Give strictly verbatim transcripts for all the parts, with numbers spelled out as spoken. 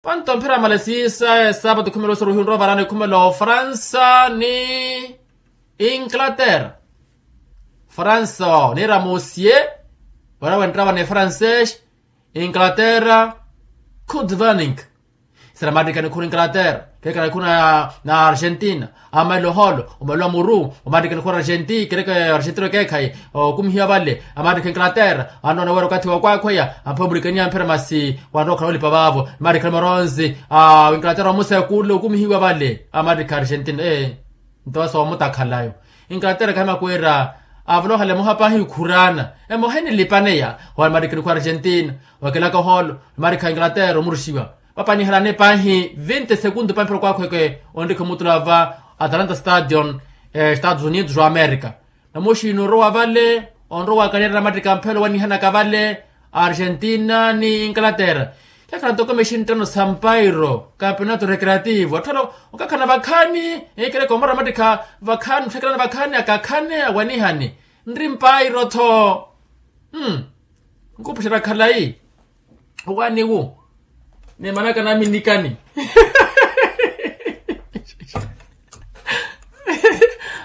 Panto mphira male siisa esaapatu khumela osoruhi onrowa varaana ekhumela ofransa ni inglaterra. Fransa niira mosie, wala wenttava ni francês. Inglaterra, good evening. Sira maattikha nikhuna inglaterra, kheekhala nikhuna na argentina. Amaelo holo omelo wa muru omaattikha nikhuna argentina kereeke argentina okeekhayi. Okumihiwa vale amaattikha inglaterra, annoona wira okathi wa kwakhweya amphe omulikaniya mphira masi, wanrowa okhala olipa vaavo maattikha ni maronzi. Inglaterra omusekule okumihiwa vale amaattikha argentina. Nto asa omutakhala yo inglaterra kahimaku wira avolokhale emoha paahi khuraana. Emoha enilipaneya wala maattikha nikhuna argentina, wakelaka oholo maattikha inglaterra omuruxiwa. Vapanihalane paahi vinte segundu pampira okwakhweke onrikha omutula va atalanta stadion, estados unidos wa america. Namuxini orowa vale onrowa wakanirana mattika mphelo wanihanaka vale argentina ni inglaterra. Khekhala ntoko mexinttano sa mpairo campeonato recreativo atthalo okakhana vakhaani. Ekereeke omara mattikha vakhaani otthakelana vakhaani akakhane awanihani nri mpairo-tho. Nkupuxerya khalayi. Owaani wu ni manaka naminikani.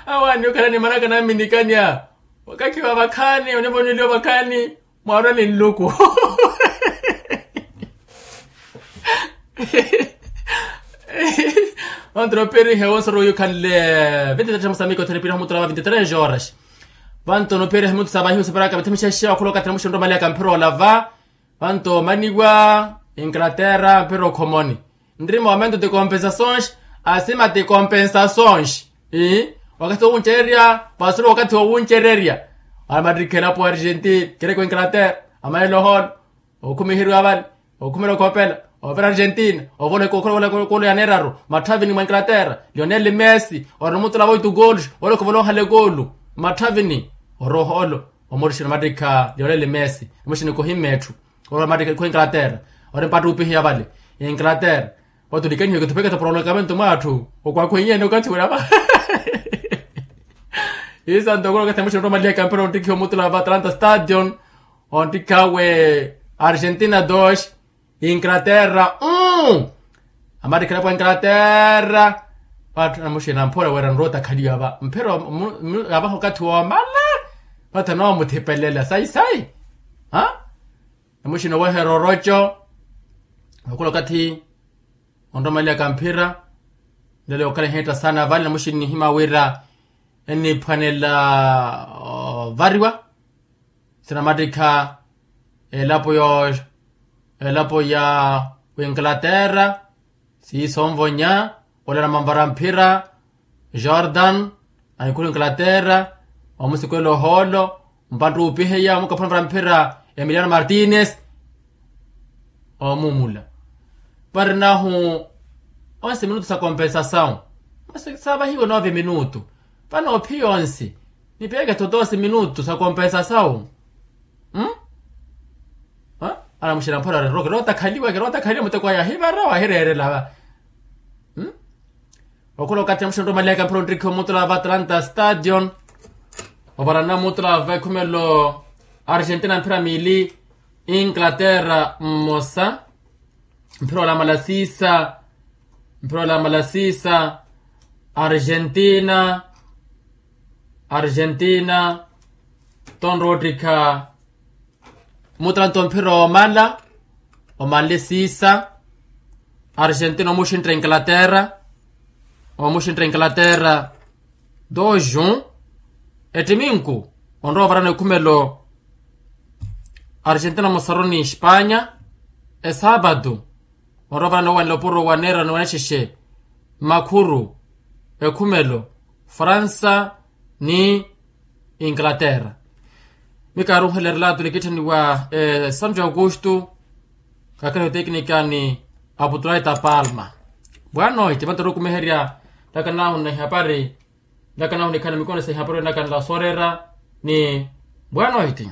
Awaani okhala ni manaka naminikani a wakakhiwa vakhaani onivoneliwa vakhaani mwaarwa ni nluku. Vantu noopirihe wonsoro yukhanle vinti tres musamiko thenipiriha mutula va vinti tres horas. Vantu noopirihe mutu savahiwe saparaka vathimixa xiwa okhula okathi namuxinrwa omaliya kamphira olava. Vanto omaniwa inglaterra mpira okhomoni. Nrima omento ti compensações. Asima ti compensações. Ii wakathi wowuncererya. Vasulu wakathi wowuncererya. Amatrikha elapo argentina kereke inglaterra. Amaelo holo okhumiheriwa vale okhumela okhopela ovira argentina. Ovola ekokolo ovola ekokolo yaneeraru. Matthavini mwa inglaterra lionel messi ori nomutula va oitu goolu. Olokhovola onhala ekoolu matthavini ori oholo. Omurixina matrikha lionel messi. Emuxini kohimme etthu. Oro mattike khu inglaterra ori mpattupihiya vale inglaterra. Watulikaniwe kithupeke thaporolokamento mwatthu okwakhwenyeene okathi wira va. Isanto okula okathi namuxini otthu omaliha ekampira onttikhiwa omutula va atalanta stadion. Onttikhawe argentina dos inglaterra um. Amattikhela pwa inglaterra. Vatthu namuxini amphora wira nrotakhaliwa va mphira yavaha okathi womala. Vatthu anoomuthipelelela sayi sayi. Ha namuxini oweherya oroco. Okula okathi onromalyaka mphira. Nlelo yookhala ehitta saana vale namuxini nihima wira enniphwanela ovariwa. Sinamattikha elapo yo elapo ya winglaterra. Siisa onvonya olala manvara mphira jordan. Anikhula inglaterra omusikwela ohoolo. Mpantta uupiheya omukaphula mvara mphira emiliano martines. Omuumula varinahu onse minutu sa compensasawu. Masi saavahiwe nove minutu. Vano ophiya onse nipiyeke tho doze minutu sa compensasawu. Anamuxina mphora ori ero kirotakhaliwa kirotakhaliwa muteko aya ahivara wahireerela va. Okhula okathi namuxina otthu omalihaka mphira ontrikhiwa omutula va atalanta stadion. Ovarana mutula va ekhumelo argentina mphira miili inglaterra mmosa. Mphira olamala siisa mphira olamala siisa argentina argentina tonroottikha. Mutala nto mphira omala omanle siisa argentina omuxintta inglaterra. Omuxintta inglaterra dos jun. Ettiminku onrowa ovarana ekhumelo argentina mosaroni espanya. Esaapatu onrowa ovarana owanela opuro waneera ni wanexexe mmakhuru ekhumelo fransa ni inglaterra. Mikaaruhela erelato likitthaniwa santo augusto. Kakhala oteknika ni aputulaita palma. Bwanoiti vanto orukumiherya ntakanahu na ihapari. Ntakanahu nikhana mikono sa ihapari ntakana la sorera ni bwanoiti.